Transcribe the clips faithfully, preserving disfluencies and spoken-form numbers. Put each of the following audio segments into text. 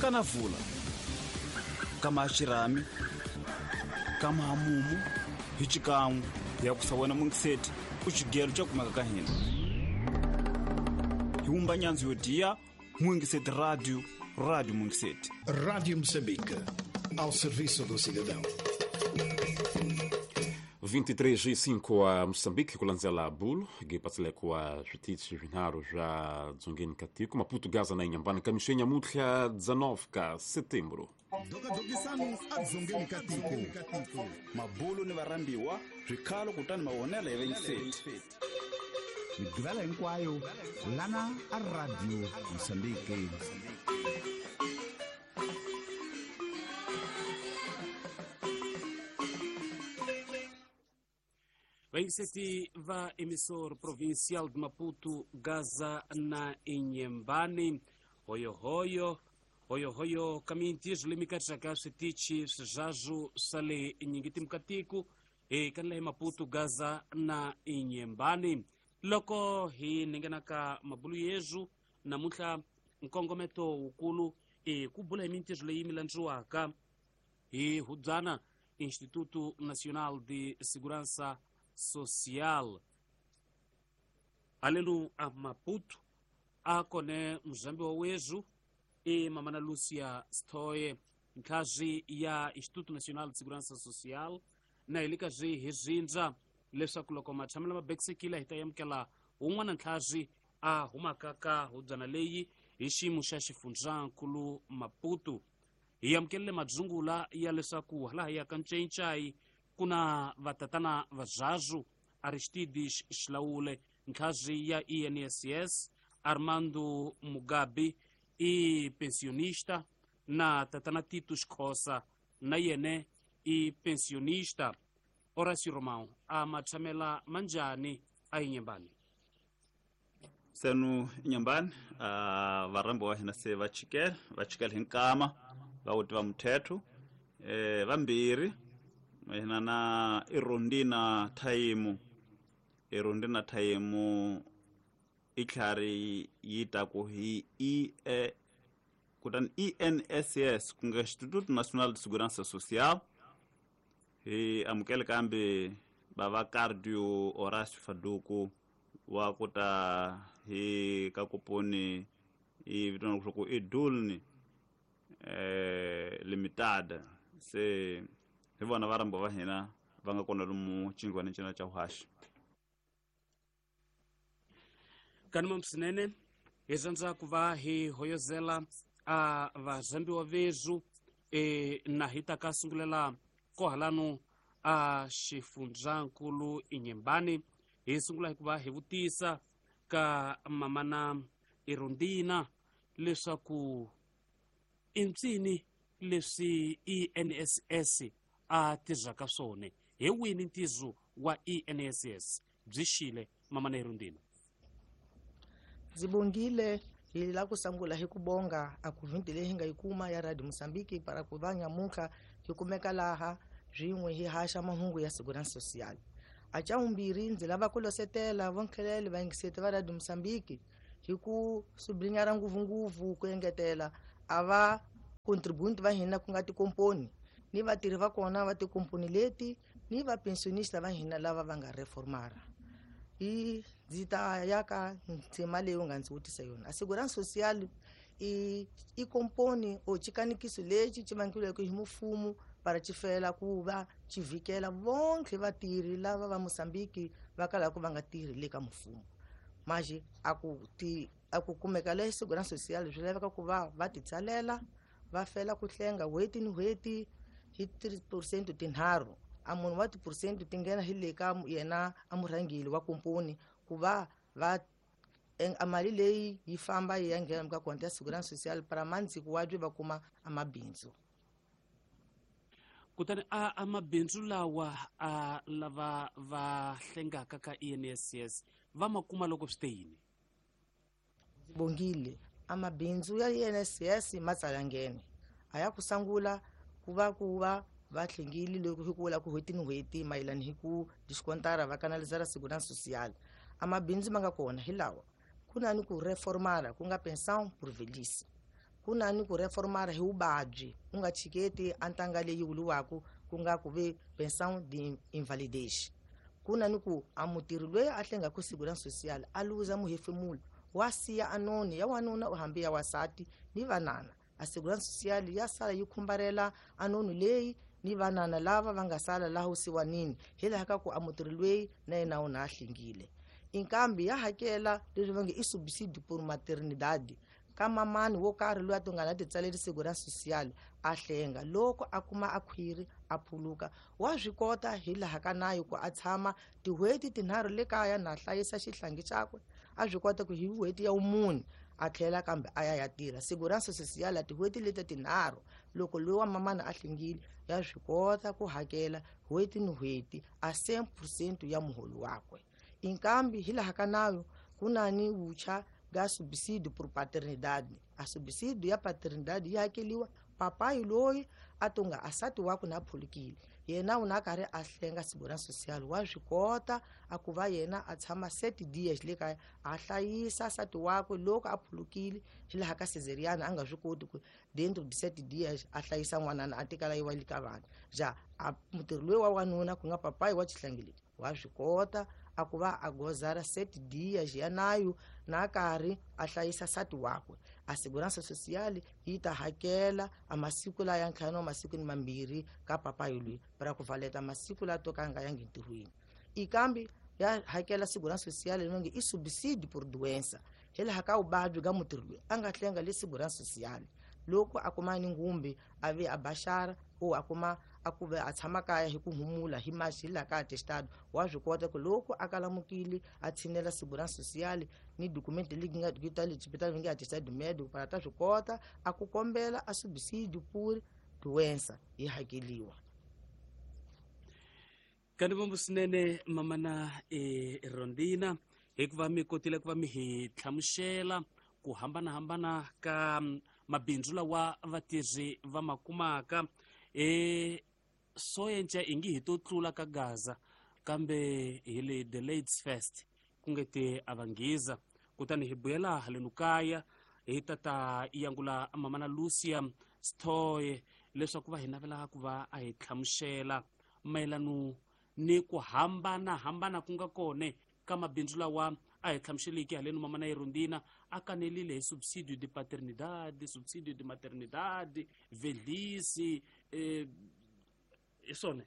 Kana vula kama xirhami kama hamumu hi xikan'we ya ku sawena mungiseti u xigelo xa kumeka ka hina hi wumba nyandzu yo diya Mungiseti Rádio, Rádio Mungiseti. Rádio Moçambique, ao serviço do cidadão. vinte e três e cinco a Moçambique, kulanzela bulo, gipatile kwa zvitichi vinharu zva dzongeni katiko, Maputo Gaza na Inhambane, kamixenya mutla dezenove ka setembro. Dokadokisanu a dzongeni katiko. Mabulo ni varambiwa, swikhalo kutani mavonelo ya Mungiseti. Migqivela hinkwayo lana a Radio Moçambique. Vaingiseti va emissor provincial de Maputo, Gaza na Inhambane, hoyo hoyo hoyo hoyo kamintis limikatshaka switichi swizazu sale nyingiti mukatiku e kanla Maputo, Gaza na Inhambane. Loko hi ningenaka mabulu yezu namuntlha nkongometo wukulu e ku bula hi mintirho leyi milandziwaka hi hubyana Instituto Nacional de Segurança Social. Alenu a Maputo a kone mzambi wa wezu e mamana Lúcia Stoye nkhazi ya Instituto Nacional de Segurança Social na ilikazi hi zindza leswaku loko matshamelo ma bekisekile hi ta yamukela wun'wana ntlhazi a humaka ka hubyana leyi hi xiyimo xa xifundzankulu Maputo. Hi amukelele madzungula ya leswaku hala hi ya ka Ncencai ku na vatatana vazazu Aristides Xilaule ntlhazi ya I N S S, Armando Mugabe i pensionista na tatana Tito Xhosa na yene i pensionista. Horácio Romão a matshamela manjani a Inhambane. Senu Inhambane a varambo wa hina se va chikela va chikela hi nkama va wuti va muthetho eh vambirhi hina na Irondina Thaimu Irondina Thaimu i tlhari yi ta ku hi I E kutani I N S S ku nga Instituto Nacional de Segurança Social. Hi amukele kambe bava Cardio Horácio Faduku wa kuta hi ka kuponi i vitana ku i Dulni eh limitada se hi vona varambo va hina va nga kona lomu chingwana cina cha uhashi. Kanuma msinene hi ku va hi hoyozela a vazambiwa vezu e na hi ta ka sungulela kohalanu a xifundzankulu Inhambane. Hi sungula hikuva hi vutisa ka mamana Irondina leswaku i mpsini leswi I N S S a tirhaka swona, hi wini ntirho wa I N S S byi xile mamana Irondina? Ndzi bongile hi la ku sungula hi ku bonga a ku vhindi leyi hi nga yi kuma ya Radio Moçambique para ku va nyamuntlha hi kumeka laha swin'we hi haxa mahungu ya Segurança Social. A xa vumbirhi ndzi lava ku losetela vonkhelele vayingiseti va Radio Moçambique hi ku sublinyara ngopfungopfu ku engetela a va contributi va hina ku nga tikomponi ni vatirhi va kona va tikomponi leti ni va pensionista va hina lava va nga reformara. I ndzi ta ya ka ndzima leyi u nga ndzi vutisa yona. A Segurança Social i i komponi o xikanikiso lexi xi vangiweke hi mfumo para xi fela ku va xi vhikela vonke vatirhi lava va Moçambique va kalaka va nga tirhi le ka mfumo. Manje a ku ti a ku kumeka le Segurança Social swi laveka ku va va ti tsalela va fela ku hlenga n'hweti ni n'hweti hi three percent tinharhu. A munhu wa ti-percent ti nghena hi le ka yena a murhangeri wa komponi ku va va a mali leyi yi famba yi ya nghena ka konti ya Segurança Social para mandziko wa byi va kuma a mabindzu. Kutani a a mabindzu lawa a lava va hlengaka ka I N S S va ma kuma loko swi te yini? Bongile a mabindzu ya I N S S ma tsala nghene a ya ku sungula ku va ku va va hlengile loko hi ku vula ku n'hweti ni n'hweti mayelana hi ku diskontara va kanalizara Segurança Social. A mabindzu ma nga kona hi lawa: ku na ni ku reformara ku nga pensão por velhice, Ku na ni ku reformara hi vuvabyi u nga chiketi a ntanga leyi vuriwaka ku nga ku ve pension de invalidez. Ku na ni ku a mutirhi loyi a hlengaka segurança social a luza muhefemulo wa siya anoni ya wanuna u hambi ya wasati ni vanana. A segurança social ya sala yi khumbarela anoni leyi ni vanana lava va nga sala laha usiwanini hi laha ka ku a mutirhi loyi na yena u na a hlengile. Inkambi ya hakela leswi va nge i subsídio por maternidade ka mamani wo karhi loyi a to nga na titsaleri segurança social a hlenga loko a kuma a khwiri a phuluka wa swi kota hi laha ka nayo ku a tshama tin'hweti tinharhu le kaya na hlayisa xihlangi xakwe a swi kota ku hi n'hweti ya vumune a tlhela kambe a ya ya tirha. Segurança social tin'hweti leti tinharhu loko loyi wa mamana a hlengile ya swi kota ku hakela n'hweti ni n'hweti a cent percent ya muholo wakwe. Inkambi hi laha ka nayo ku na ni vucha ga subsídio por paternidade. A subsídio ya paternidade yi hakeliwa papayi loyi a tonga asati wakwe na phulukile yena u na karhi a hlenga segurança social wa swi kota a ku va yena a tshama sete dias le kaya a hlayisa sati wakwe loko a phulukile hi laha ka cesariana a nga swi koti ku dentro de sete dias a hlayisa n'wanana a tikala yi wa le ka vanhu ja a mutirhi loyi wa wanuna ku nga papayi wa xihlangi lexi wa swi kota a ku va a gozara sete dias ya nayo na karhi a hlayisa sati wakwe. A segurança social yi ta hakela a masiku la ya ntlhanu masiku ni mambirhi ka papayi loyi para ku valeta masiku la to ka nga yangi ntirhweni. Ikambi ya hakela segurança social leyi nge i subsídio por doença hi laha ka vuvabyi ga mutirhi loyi a nga hlenga le segurança social loko a kuma ni ngumbi a ve a baxara o a kuma a ku ve a tshama kaya hi ku humula hi maxi hi laha ka atestado wa swi kota ku loko a kalamukile a tshinela segurança social ni document leyi nga ta le xibedhlele nge atestado médico para ta swi kota a ku kombela a subsídio por doença yi hakeliwa. Kanti vombo swinene mamana e Rondina hikuva mi kotile ku va mi hi hlamusela ku hambanahambana ka mabindzu lawa vatirhi va ma kumaka. E soyenca ingi hi to tlula ka Gaza kambe hi le the ladies first ku nge te a vanghiza kutani hi buyela halenu kaya hi tata yangula mamana Lucia Stoye leswaku va hi navela ku va a hi hlamusela mayelano ni ku hambanahambana ku nga kone ka mabindzu lawa a hi hlamuseliki halenu mamana Irondina a kanelile hi subsídio de paternidade, subsídio de maternidade, velhice, eh, hi swona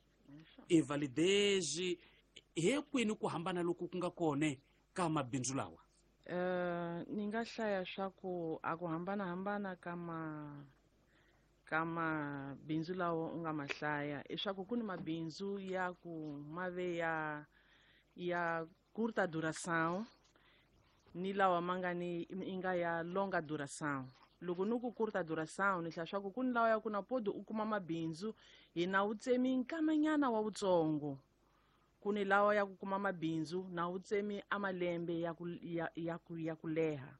invalidez hi kwini ku hambana loku ku nga kone ka mabindzu lawa? Uh, ni nga hlaya swa ku a ku hambanahambana ka ma ka mabindzu lawa u nga ma hlaya i swa ku ku ni mabindzu ya ku ma ve ya ya curta duração ni lawa ma nga ni i nga ya longa duração. Loko ni ku curta duração ni hlaya swa ku ku ni lawa ya ku na podi u kuma mabindzu hi na wu tsemi nkamanyana wa wutsongo ku ni lawa ya ku kuma mabindzu na wu tsemi a malembe ya ku ya, ya ku ya ku leha.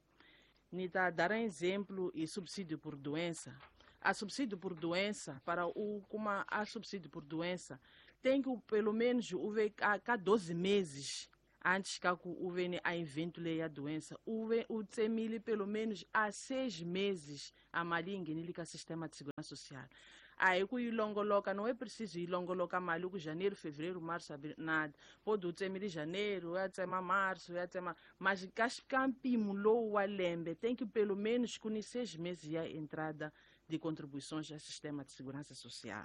Ni ta dar um exemplo e subsídio por doença. A subsídio por doença, para o kuma a subsídio por doença, tem que pelo menos o ver a cada doze meses antes que o vene a evento leia a doença, o o tsemile pelo menos há seis meses a mali ingene ka sistema de segurança social. Aí ku ilongoloka não é preciso ilongoloka mali ku janeiro, fevereiro, março, abril, nada. Pode o tsemile janeiro, ya tsema março, ya tsema, mas kampimo lowu wa lembe tem que pelo menos com seis meses ya entrada de contribuições ao sistema de segurança social.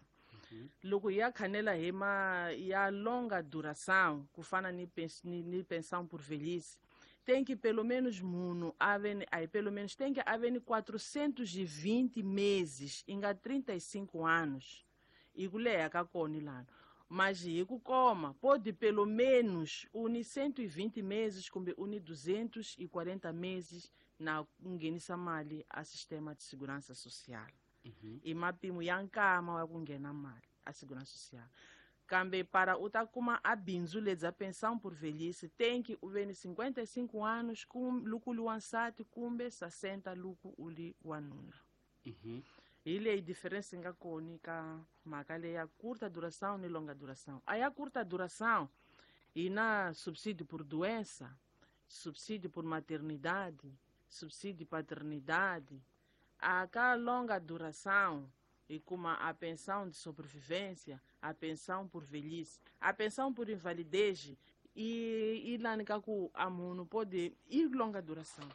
Uhum. Loko ya khanela hi ma ya longa duração, ku fana ni, pens, ni, ni pensão por velhice, tem que pelo menos munhu ave aí pelo menos tem que haver quatrocentos e vinte meses, inga trinta e cinco anos. E ku leha ka kona lana. Mas hi ku koma, pode pelo menos uni cento e vinte meses kumbe uni duzentos e quarenta meses na nghenisa mali a sistema de segurança social. Uhum. E mapimo ya nkama wa ku nghena mali a segurança social. Kambe para u ta kuma a bindzu lebya pensão por velhice tem que u ve ni cinquenta e cinco anos kum, loko u li wansati kumbe sessenta loko u li wanuna. Uhum. Hi leyi diferença yi nga kona ka mhaka leyi ya curta duração ni longa duração. A ya curta duração hi na subsídio por doença, subsídio por maternidade, subsídio de paternidade, A ka longa duração hi kuma a pensão de sobrevivência, a pensão por velhice, a pensão por invalidez e i lani ka ku a munhu pode i longa duração.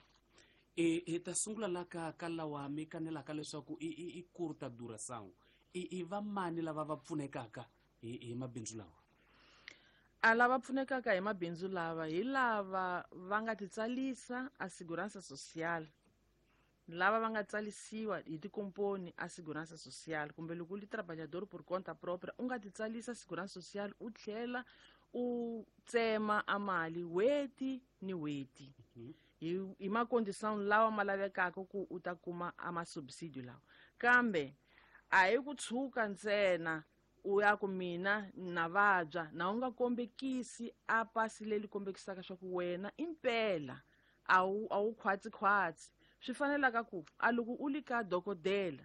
E hi ta sungula la ka ka lawa mi kanelaka leswaku i i i curta duração. I i va mani lava va pfunekaka hi hi mabindzu lawa? A lava pfunekaka hi mabindzu lava hi lava va nga titsalisa a segurança social, lava va nga tsalisiwa hi tikomponi a segurança social, kumbe loko u li trabalhador por conta própria u nga titsalisa segurança social u tlhela u tsema a mali n'hweti ni n'hweti hi hi macondição lawa ma lavekaka ku u ta kuma a masubsidio lawa. Kambe a hi ku tshuka ntsena u ya ku mina na vabya na u nga kombekisi a pasi leri kombekisaka swa ku wena impela a wu a wu khwatsi-khwatsi. Swi fanelaka ku a loko u li ka dokodela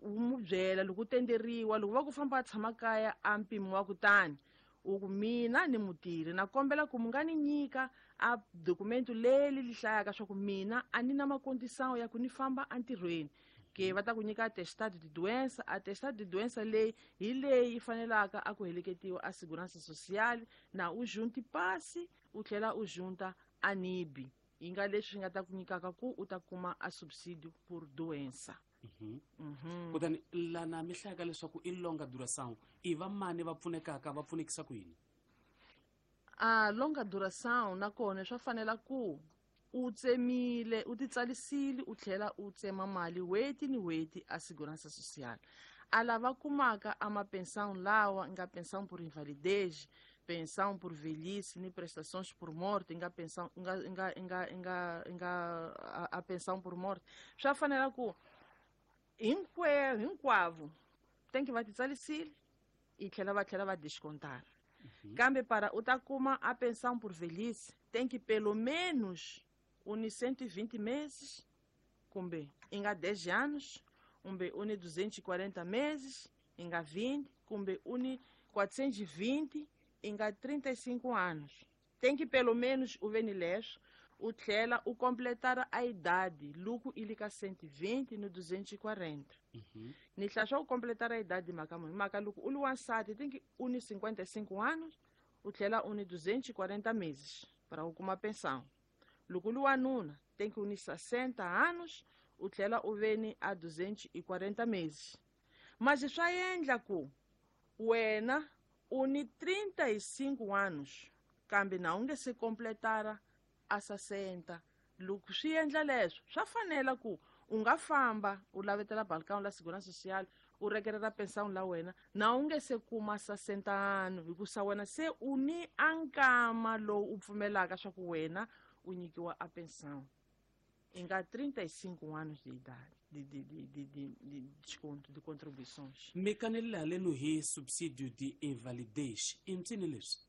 u mu byela loko u tenderiwa loko va ku famba a tshama kaya a mpimo wa kutani u ku mina ni mutirhi na kombela ku mi nga ni nyika a dokumento leri li hlayaka swa ku mina a ni na macondição ya ku ni famba entirhweni, ke va ta ku nyika atestado de doença. Atestado de doença leyi hi leyi yi fanelaka a ku heleketiwa a segurança social na u junti pasi u tlhela u junta a nibi, yi nga leswi swi nga ta ku nyikaka ku u ta kuma a subsidio por doença. Mhm. Kutani lana mi hlayaka leswaku i longa duração, i va mani va pfunekaka, va pfunekisa ku yini? A longa duração nakona swa fanela ku u tsemile u titsalisile u tlhela u tsema mali n'hweti ni n'hweti a segurança social. A lava kumaka a mapensão lawa nga pensão por invalidez, pensão por velhice ni prestações por morte, nga pensão nga nga nga nga nga a, a pensão por morte, swa fanela ku hinkwerhu hinkwavo tem que va titsalisile i tlhela va tlhela va descontar. Kambe para u ta kuma a pensão por velhice tem que pelo menos uni cento e vinte meses, kumbe inga dez anos, kumbe uni duzentos e quarenta meses, inga vinte, kumbe uni quatrocentos e vinte, inga trinta e cinco anos. Tem que pelo menos o venilesho, o tlhela o completar a idade, luku ilika cento e vinte no duzentos e quarenta. Ni tlhela u completar a idade maka munhu, maka loko u li wansati tem que uni cinquenta e cinco anos, o tlhela uni duzentos e quarenta meses para u kuma pensão. Loko u li wanuna tem que uni sessenta anos, o tlhela u veni a duzentos e quarenta meses. Mas swa endla ku wena uni trinta e cinco anos, kambe na u nge se completara a sessenta. Loko swi endla leswo swa fanela ku u nga famba u lavetela balcão la segurança social u rekerera pensão la wena na u nge se kuma sessenta anos, hikusa wena se u ni a nkama lowu u pfumelaka swa ku wena u nyikiwa a pensão i nga trinta e cinco anos de idade de de de de de de desconto de contribuições. Mi kanelile haleno hi subsídio de invalidez, i mpsini leswi?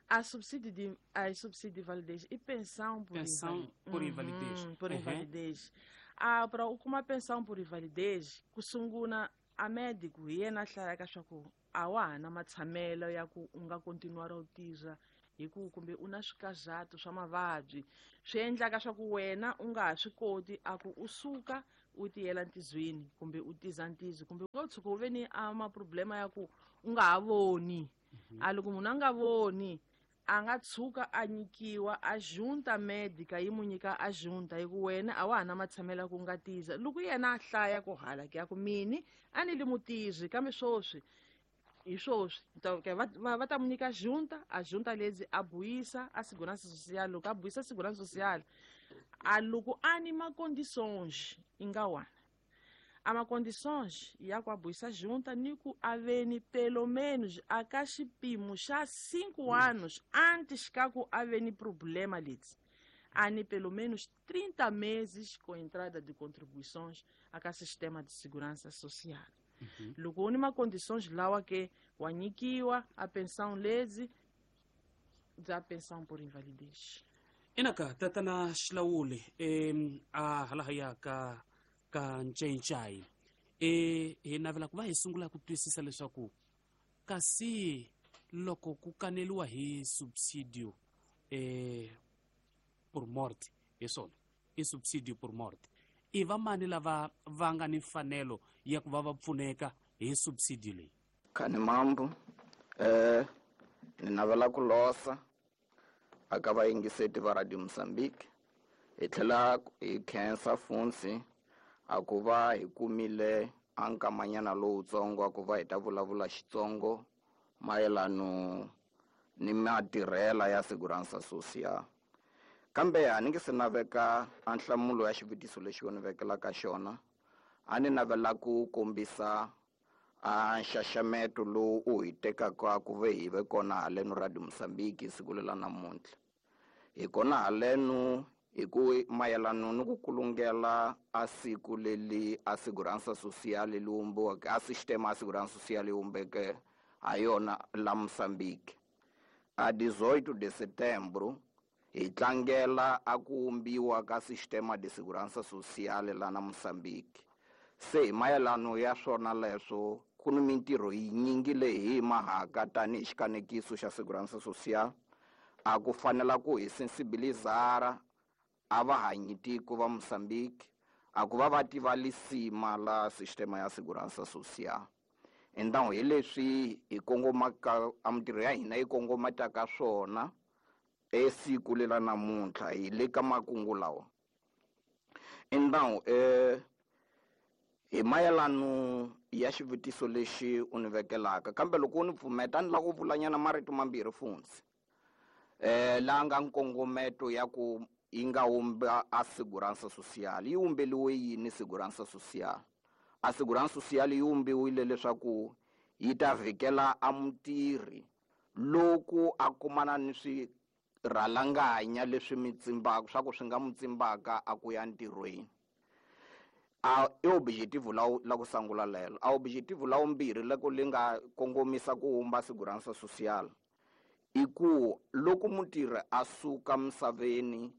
A subsídio de a subsídio de invalidez e pensão por pensão invali por invalidez. Uhum, por Uhum. invalidez. Ah, para u kuma pensão por invalidez ku sungula a médico hi yena a hlayaka swa ku a wa ha na matshamelo ya ku u nga continuar u tirha hi ku kumbe u na swikazato swa mavabyi swi endlaka swa ku wena u nga ha swi koti a ku u suka u tiyela ntizweni kumbe u tiza ntizo kumbe u nga tshuka u ve ni a maproblema ya ku u nga ha voni. A loko munhu a nga voni a nga tshuka a nyikiwa a junta médica yi mu nyika a junta hi ku wena a wa ha na matshamelo ya ku nga tiza. Loko yena a hlaya ku hala ke ya ku mini a ni li mutirhi kambe swoswi hi swoswi ke va va va ta mu nyika junta, a junta lezi a buyisa a segurança social. Loko a buyisa segurança social a loko a ni macondições i nga wana a macondições ya ku a buyisa junta ni ku a veni pelo menos a ka xipimo xa cinco anos antes ka ku a veni problema leti a ni pelo menos trinta meses com entrada de contribuições a ka sistema de segurança social. Loko u ni macondições lawa ke wa nyikiwa a pensão lezi bya pensão por invalidez. Inaka tatana Xilawuli em a hala ya ka ka Ncencai e hi navela ku va hi sungula ku twisisa leswaku kasi loko ku kaneliwa hi subsidio eh por morte hi swona i subsidio por morte I vamani lava va nga ni mfanelo ya ku va va pfuneka hi subsidio leyi? Khani mambo, eh ni navela ku losa aka vayingiseti va Radio Mozambique, hi tlhela hi khensa Funsi a ku va hi kumile a nkamanyana lowutsongo a ku va hi ta vulavula Xitsongo mayelano ni matirhela ya Segurança Social. Kambe a ni nge se naveka a nhlamulo ya xivutiso lexi u ni vekelaka xona, a ni navela ku kombisa a nxaxameto lowu u hi tekaka ku ve hi ve kona haleno Radio Mozambique siku lela namuntlha. Hi kona haleno hi ku mayelano ni ku kulungela a siku leli a Segurança Social li vumbiweke, a sistema a Segurança Social yi vumbeke ha yona la Mozambique. A dezoito de setembro hi tlangela a ku vumbiwa ka sistema de Segurança Social la na Mozambique. Se hi mayelano ya swona leswo ku ni mintirho yinyingi leyi hi mahaka tanihi xikanekiso xa Segurança Social a ku fanela ku hi sensibilizara a vahanyi tiko va Mozambique a ku va va tiva lisima la sistema ya Segurança Social. Então hi leswi hi kongomaka a mintirho ya hina yi kongomataka swona esiku lela namuntlha hi le ka makungu lawa. Então eh hi mayelano ya xivutiso lexi u ni vekelaka, kambe loko u ni pfumeta ni lava ku vulanyana marito mambirhi Funsi, eh la nga nkongometo ya ku yi nga wumba a Segurança Social. Yi wumbeliwe yini Segurança Social? A Segurança Social yi wumbiwile leswaku yi ta vhikela a mutirhi loko a kumana ni swirhalanganya leswi mitsimbaka, swa ku swi nga mutsimbaka a ku ya ntirhweni. A i objetivo la la ku sangula lelo. A objetivo la vumbirhi loko li nga kongomisa ku wumba Segurança Social i ku loko mutirhi a suka misaveni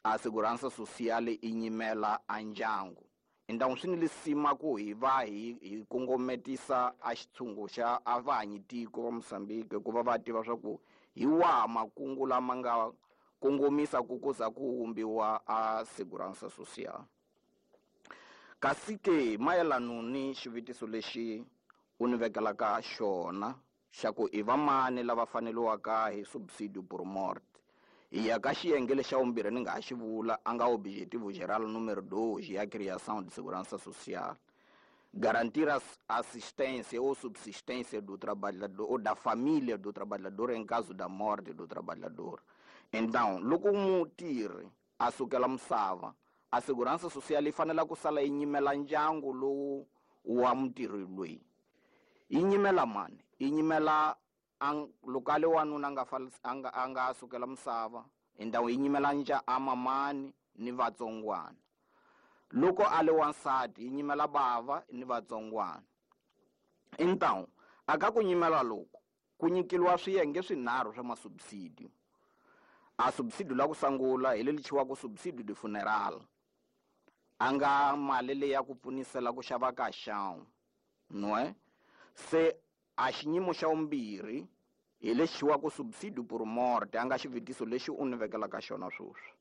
a Segurança Social i nyimela a ndyangu. Então swi ni lisima ku hi va hi hi kongometisa a xitshungu xa a vahanyi tiko va Mozambique ku va va tiva swa ku hi waha makungu lama nga kongomisa ku ku za ku wumbiwa a Segurança Social. Kasi ke mayelano ni xivutiso lexi u ni vekelaka xona xa ku i vamani lava faneliwaka hi subsidio por morte, hi ya ka xiyenge lexa vumbirhi ni nga ha xi vula a nga objetivo geral número dois ya criação de segurança social, garantir a assistência ou subsistência do trabalhador ou da família do trabalhador em caso da morte do trabalhador. Então loko mutirhi a sukela misava, a segurança social yi fanela ku sala yi nyimela ndyangu lowu wa mutirhi loyi. Yi nyimela mani? Yi nyimela loko a le wanuna a nga a nga a nga sukela misava, endhawu yi nyimela nja a mamani ni vatsongwana. Loko a le wansati yi nyimela bava ni vatsongwana. Então aka ku nyimela loku ku nyikeliwa swiyenge swinharhu swa masubsidio. A subsidio la ku sangula hi leli chiwaka subsidio de funeral, a nga mali leyi ya ku pfunisela ku xava ka xawu nwe. Se a xinyimo xa vumbirhi hi lexi chiwaka subsidio por morte, a nga xivutiso lexi u ni vekelaka xona sweswi.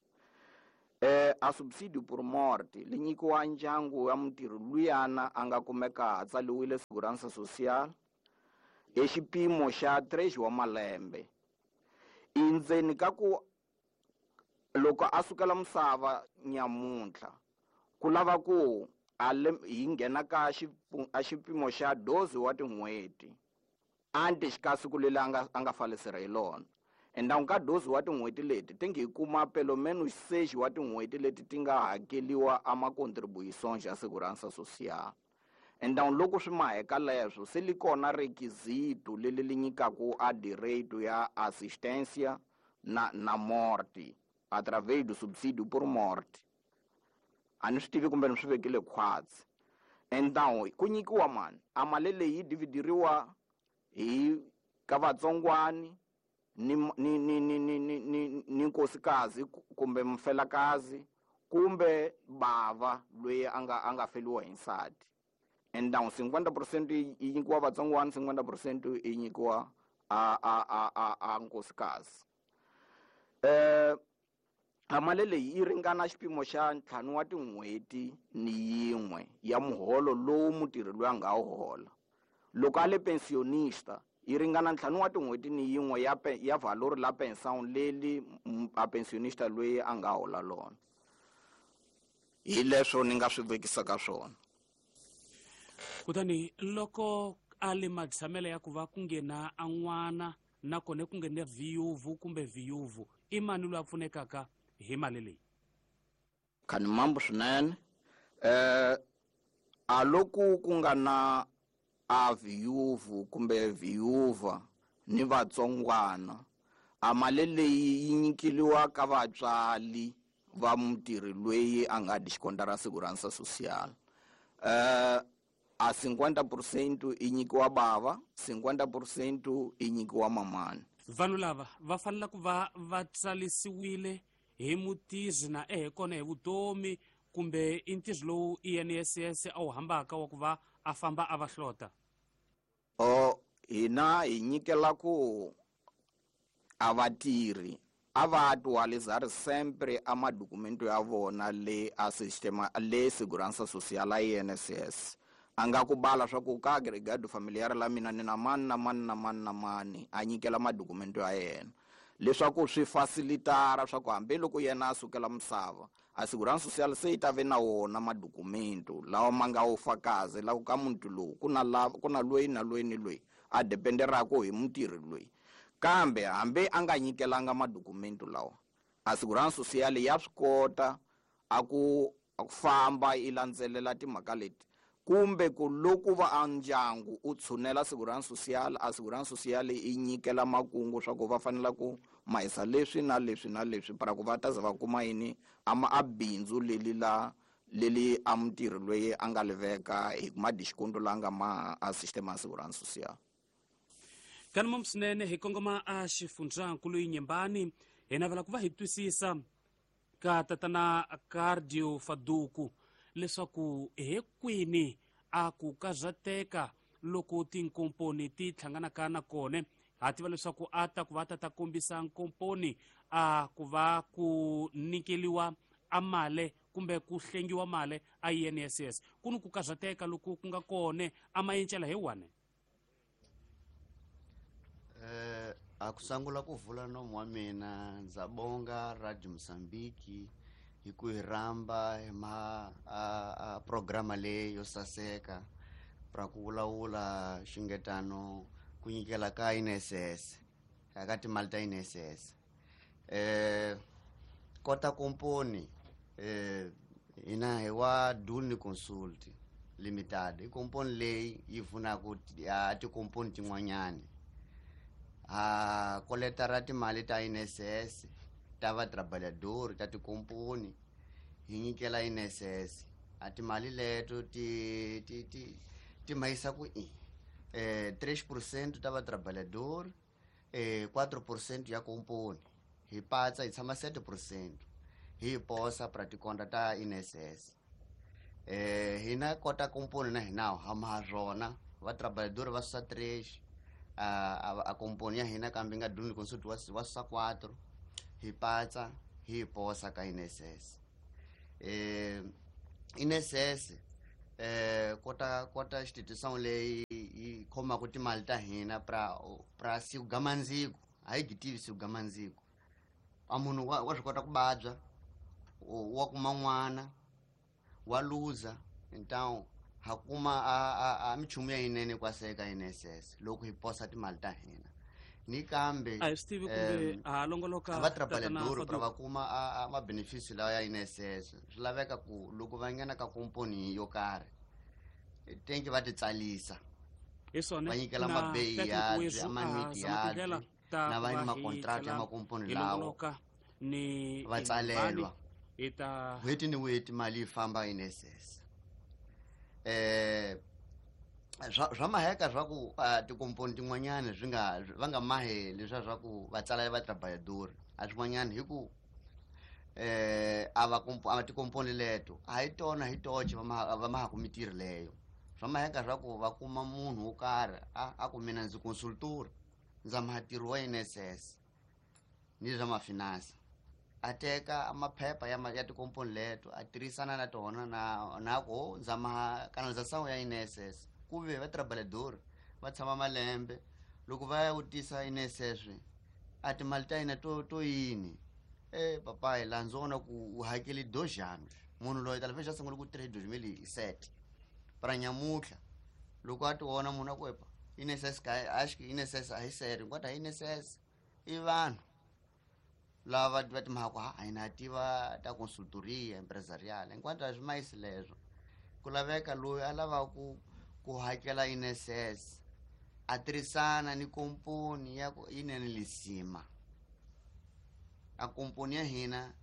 Eh a subsidio por morte li nyikiwa ndyangu ya mutirhi luyana a nga kumeka a tsaliwile Segurança Social e xipimo xa três wa malembe. Endzeni ka ku loko a sukela misava nyamuntlha ku lava ku hi nghena ka a xipimo xa doze wa tin'hweti antes ka siku leri a nga a nga falesera hi lona. Endzhaku ka doze wa tin'hweti leti ti nge hi kuma pelo menos seis wa tin'hweti leti ti nga hakeliwa a ma-contribuições ya Segurança Social. Então loko swi maheka leswo se li kona requisito leli li nyikaku a direito ya assistência na na morte através do subsídio por morte. A ni swi tivi kumbe ni swi vekile khwatsi. Então ku nyikiwa mani a mali leyi yi dividiriwa hi ka vatsongwani ni ni ni ni ni ni ni ni nkosikazi kumbe mfelakazi kumbe bava loyi a nga a nga feliwa hi nsati. Então cinquenta por cento yi nyikiwa vatsongwana, cinquenta por cento yi nyikiwa a a a a a nkosikazi. Eh A mali leyi yi ringana xipimo xa ntlhanu wa tin'hweti ni yin'we ya muholo lowu mutirhi loyi a nga wu hola. Loko a le pensionista yi ringana ntlhanu wa tin'hweti ni yin'we ya ya valor la pension leli a pensionista loyi a nga hola lona. Hi leswo ni nga swi vekisaka swona. Kutani loko a le matshamelo ya ku va ku nghena a n'wana nakona ku nghena viyuvu kumbe viyuvu, i mani loyi a pfunekaka hi mali leyi? Khani mambo swinene. Eh a loko ku nga na a viyuvu kumbe viyuva ni vatsongwana, a mali leyi yi nyikeliwa ka vatswali va mutirhi loyi a nga descontar a segurança social. Eh a cinquenta por cento i nyikiwa bava, cinquenta por cento i nyikiwa mamani. Vanhu lava va fanele ku va va tsalisiwile hi mutizi na ehe kona hi vutomi, kumbe i ntirho lowu I N S S a wu hambaka wa ku va a famba a va hlota? O hina hi nyikela ku a vatirhi a va atualizar sempre a madokumento ya vona le a sistema le segurança social a I N S S. A nga ku bala swa ku ka agregado familiar la mina ni na mani na mani na mani na mani, a nyikela madokumento ya yena leswaku swi facilitara swa ku hambiloko yena a sukela misava, a segurança social se yi ta ve na wona madokumento lawa ma nga wu fakazi la ku ka muntu lowu ku na la ku na loyi na loyi ni loyi a dependeraka hi mutirhi loyi. Kambe hambi a nga nyikelanga madokumento lawa, a segurança social ya swi kota a ku a ku famba yi landzelela timhaka leti, kumbe ku loko va a ndyangu u tshunela segurança social, a segurança social yi nyikela makungu swa ku va fanela ku mahisa leswi na leswi na leswi para ku va ta za va kuma yini ama a bindzu leli la leli a mutirhi loyi a nga liveka hi kuma desconto la nga ma a sistema ya segurança social. Kanuma swinene hi kongoma a xifundzankulu Inhambane, hi navela ku va hi twisisa ka tatana Cardio Faduku leswaku he kwini a ku kazateka loko tinkomponi ti hlanganaka na kona. Ha tiva leswaku a ta ku va ta ta kombisa nkomponi a ku va ku nyikeliwa a mali kumbe ku hlengiwa mali a I N S S. Ku ni ku kazateka loko ku nga kona a mayencela hi wane. Eh a ku sungula ku vula nomu wa mina, ndza bonga Radio Mozambique hi ku hi rhamba hi ma a, a programa leyi yo saseka pra ku vulavula xingetano ku nyikela ka I N S S ka timali ta I N S S. Eh kota komponi eh hina hi wa Duni Consult Limited, i komponi leyi yi pfunaka a tikomponi tin'wanyani. A koleta ra timali ta I N S S ta va trabalhador ta tikomponi hi nyikela I N S S. A timali leto ti ti ti ti mahisa ku i eh três por cento ta va trabalhador, eh quatro por cento ya komponi, hi patsa hi tshama sete por cento hi posa pra tikonta ta I N S S. Eh hina kota komponi na hina ha ma rona va trabalhador va susa três, a a, a komponi ya hina kambe nga Duni Consult wa wa susa quatro, hi patsa hi posa ka I N S S. Eh I N S S eh kota kota institution leyi yi khomaka timali ta hina pra pra siku gamandziko, a yi gitivi siku gamandziko. A munhu wa, wa swi kota ku babya, wa kuma n'wana, wa luza, então ha kuma a, a, a minchumu ya yinene kwaseka I N S S loko hi posa timali ta hina. Ni kambe a hi swi tivi kumbe ha longoloka va trabalhador pra va kuma a ma benefício lawa ya I N S S. Swi laveka ku loko va nghena ka komponi yo karhi tenki va ti tsalisa, hi swona va nyikela mabeyi ya amaniti ya na va ni makontrakt ya makomponi lawo ni va tsalelwa hi ta n'hweti ni n'hweti mali yi famba I N S S. Eh swa swa maheka swa ku tikomponi tin'wanyani swi nga va nga mahi leswiya swa ku va tsala va trabalhador a swin'wanyani hi ku eh a va a tikomponi leto a hi tona hi toxe va ma va mahaku mitirho leyo. Swa maheka swa ku va kuma munhu wo karhi a a ku mina ndzi consultor ndza maha ntirho wa I N S S ni swa mafinansa A teka maphepha ya ya tikomponi leto a tirhisana na tona na na ku zama canalização ya I N S S ku ve va trabalhador va tshama malembe loko va ya vutisa I N S S a timali ta hina to to yini eh papai la ndzi vona ku u hakeli dois anos munhu loyi talvez já sungule ku tirha hi dois mil e sete para nyamutlha loko a ti vona munhu a ku epa I N S S ka acho que I N S S a hi sério enquanto a I N S S i vanhu lava va timhaka ha a hina tiva ta consultoria empresarial enquanto a swi mayisi leswo ku laveka loyi a lavaka ku ku hakela I N S S a tirhisana ni komponi ya ku yinene lisima a komponi ya hina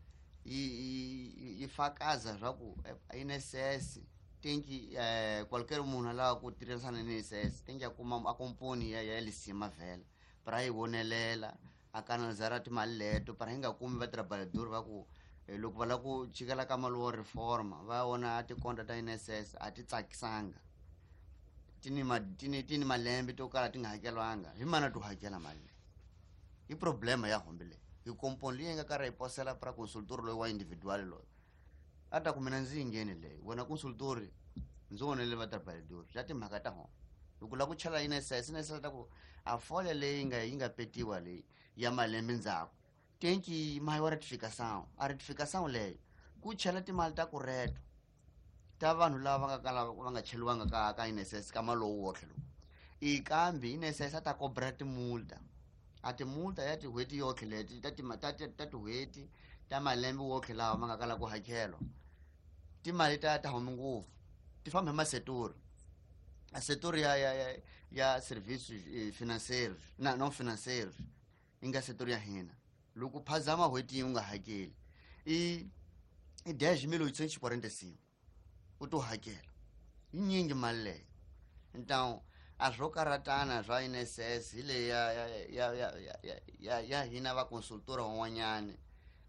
yi yi fakaza swa ku I N S S tenki eh qualquer munhu a lava ku tirhisana ni I N S S tenki a kuma a komponi ya ya lisima vhela para yi vonelela a canalizar timali leto para hi nga kumi va trabalhador va ku loko va lava ku chikela ka mali wo reforma va vona tikonta ta I N S S a ti tsakisanga ti ni ma ti ni ti ni malembe to kala ti nga hakelwanga hi mana to hakela mali leyi i problema ya hombe leyi hi komponi leyi nga karhi yi posela para consultor loyi wa individual loyi a ta ku mina ndzi yi ngheni leyi wena consultor ndzi vonele va trabalhador ya timhaka ta hona loko lava ku chela I N S S I N S S ta ku a folha leyi nga yi nga petiwa leyi ya malembe ndzhaku tenki mayi wa ratificação a ratificação leyo ku chela timali ta kureto ta vanhu lava va nga kala va nga cheliwanga ka ka I N S S ka malowu wotlhe lowu i kambe I N S S a ta cobra timulta a timulta ya tin'hweti yotlhe leti ta ta ta tin'hweti ta malembe wotlhe lawa ma nga kala ku hakelwa timali ta ta humi ngopfu ti famba hi masetori a setor ya ya ya ya serviços financeiros na não financeiros yi nga setor ya hina loko phazama n'hweti yi u nga hakeli i i dez mil oitocentos e quarenta e cinco u to hakela yi nyingi mali leyo então a swo karatana swa I N S S hi leyi ya ya ya ya ya ya hina va consultora van'wanyani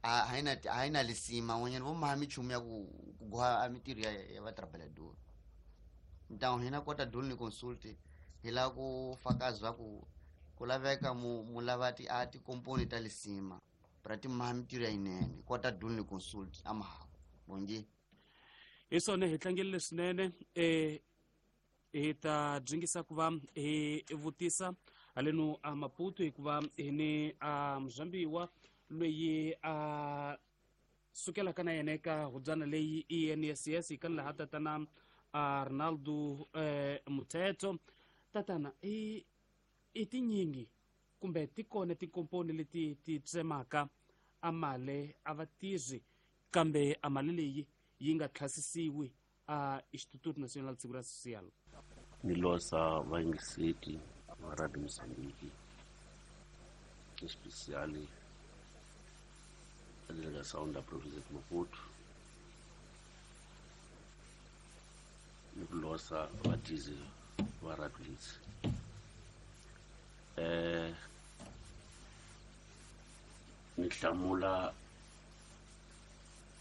a hi na a hi na lisima van'wanyani vo maha minchumu ya ku ku goha a mintirho ya ya va trabalhador então hina kota dulu ni consult hi lava ku fakaza ku ku laveka mu mu lava ti a tikomponi ta lisima pra ti maha mintirho ya yinene kota dulu ni consult a mahaku bongi hi swona hi tlangerile swinene eh hi ta dyingisa ku va hi vutisa haleno a Maputo hikuva hi ni a muzambiwa loyi a sukelaka na yena eka hubyana leyi I N S S hi kani laha tatana a Ronaldo eh, Muthetho tatana i i tinyingi kumbe ti kona tikomponi leti ti tsemaka a mali a va tirhi kambe a mali leyi yi nga tlhasisiwi a Instituto Nacional de Segurança Social. Ni losa vayingiseti va Radio Mozambique especial a delegação da província de Maputo ni ku losa vatizi va Radio Litsi. Eh ni hlamula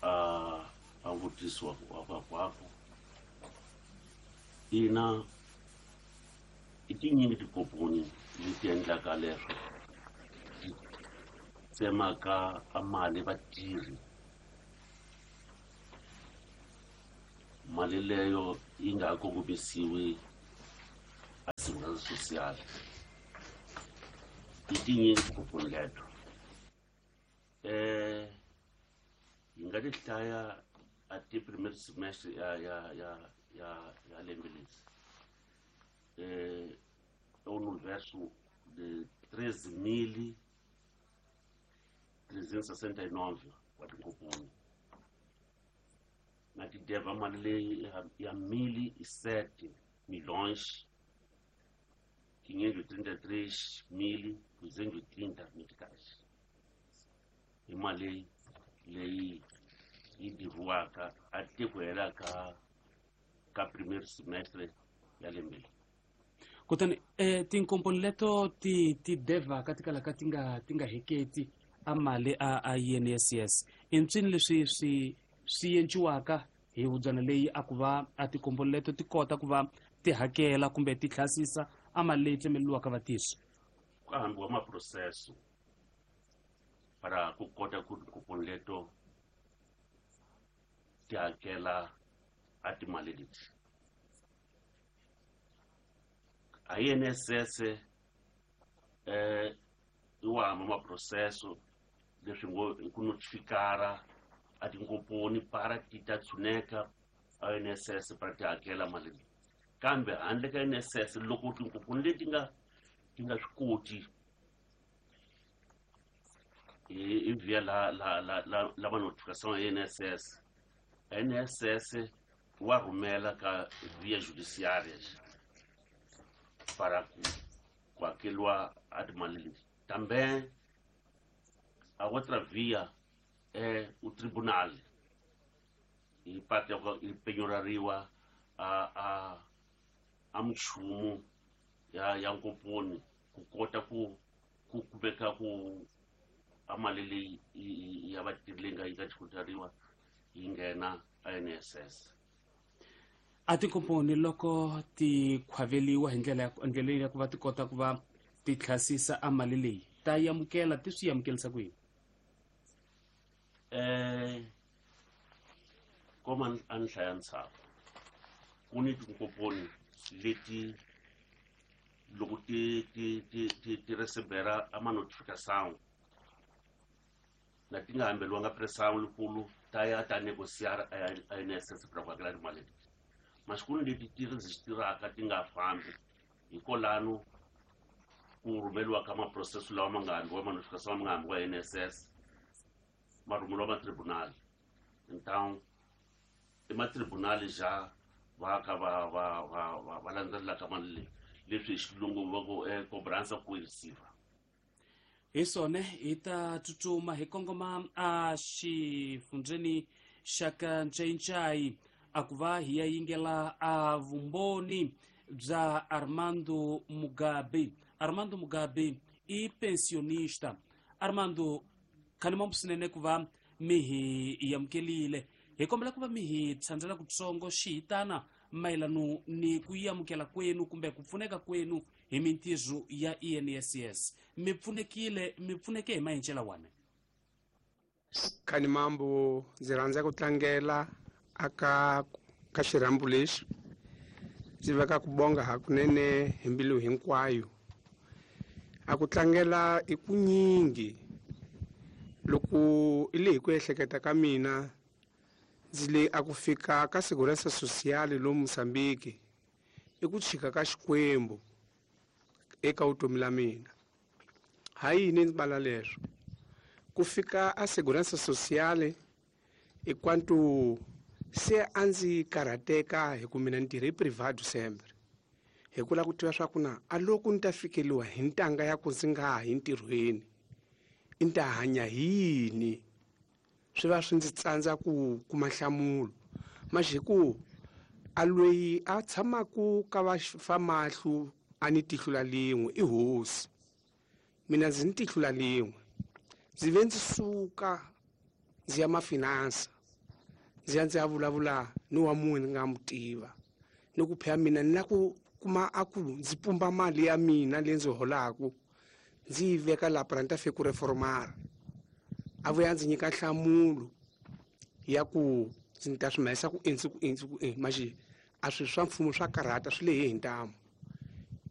a a vutisiwa wa kwako ina i tinyingi tikomponi leti endlaka leswo ti tsemaka a mali vatirhi mali leyo yi nga ha kongomisiwi a segurança social i tinyingi tikomponi leto eh yi nga ti hlaya até primeiro semestre ya ya ya ya ya lembe leri é um universo de treze mil trezentos e sessenta e nove wa tinkomponi na ti deva mali leyi ya mil e sete milhões quinhentos e trinta e três mil duzentos e trinta meticais i mali leyi yi diviwaka a te ku hela ka ka primeiro semestre ya lembe leri. Kutani eh, tinkomponi leto ti ti devaka ti kalaka ti nga ti nga heketi a mali a a I N S S i ntswini leswi swi swi enciwaka hi hubyana leyi a ku va a tikomponi leto ti kota ku va ti hakela kumbe ti tlhasisa a mali leyi tsemeleriwaka vatirhi ku hambiwa maproseso para ku kota ku tinkomponi leto ti hakela a timali leti. A I N S S eh i wama maprocesso leswi ngo ku notifikara a tinkomponi para ti ta tshuneka a N S S para ti hakela mali leyi. Kambe handle ka N S S loko tinkomponi leti nga ti nga swi koti hi via la la la la la notificação ya N S S, N S S wa rhumela ka via judiciária para ku ku hakeriwa a timali leti. Também a outra via é o tribunal hi parte ya yi penyorariwa a a a minchumu ya ya nkomponi ku kota ku ku kumeka ku a mali leyi ya vatirhi leyi nga yi nga xikotariwa yi nghena a N S S. A tinkomponi loko ti khwaveliwa hi ndlela ya ndlela ya ku va ti kota ku va ti tlhasisa a mali leyi ta yamukela ti swi yamukelisa ku yini? Eh koma a ni hlaya ntshaku ku ni tinkomponi leti loko ti ti ti ti ti recebera a ma notificação na ti nga hambeliwanga pressão likulu ta ya ta negociar a N S S para ku hakela timali leti. Masiku leti ti registraka ti nga fambi hikolano ku rhumeriwa ka maprocesso lawa ma nga hambiwa ma notificação ma nga hambiwa N S S ma rhumeriwa ma tribunal. Então i ma tribunal já va ka va va va va landzelelaka mali leyi leswi hi xilungu va ku e cobrança coerciva. Hi swona hi ta tsutsuma hi kongoma a xifundzeni xa ka Ncayincai a ku va hi ya yingela a vumbhoni bya Armando Mugabe. Armando Mugabe i pensionista. Armando, khanimambu swinene ku va mi hi amukelile. Hi kombela ku va mi hi tshandzela kutsongo xihitana mayelano ni ku yi amukela kwenu kumbe ku pfuneka kwenu hi mintirho ya I N S S. Mi pfunekile, mi pfuneke hi maendlelo wana. Khanimambu, ndzi rhandza ku tlangela aka ka xirhambo lexi. Ndzi veka ku bonga hakunene hi mbilu hinkwayo. A ku tlangela i ku nyingi loko i le hi ku ehleketa ka mina ndzi le a ku fika ka Segurança Social lomu Mozambique i ku chika ka Xikwembu eka vutomi la mina. Ha yini ndzi bala leswo? Ku fika a Segurança Social i kwantu se a ndzi karhateka hi ku mina ni tirhe privado sempre hi ku lava ku tiva swa ku na a loko ni ta fikeliwa hi ntanga ya ku ndzi nga ha yi ntirhweni i ni ta hanya hi yini? Swi va swi ndzi tsandza ku kuma nhlamulo. Maxi hi ku a loyi a tshamaku ka va famahlu a ni tihlo la lin'we i hosi, mina ndzi ni tihlo la lin'we. Ndzi ve ndzi suka ndzi ya mafinansa ndzi ya ndzi ya vulavula ni wa munhu ni nga mu tiva ni ku phela mina ni la ku kuma a ku ndzi pumba mali ya mina leyi ndzi holaku ndzi yi veka laha para ni ta fika ku reformara. A vuya ndzi nyika nhlamulo ya ku ndzi ta swi mahisa ku endzi ku endzi ku endzi maxi a swilo swa mfumo swa karhata swi lehe hi ntamu.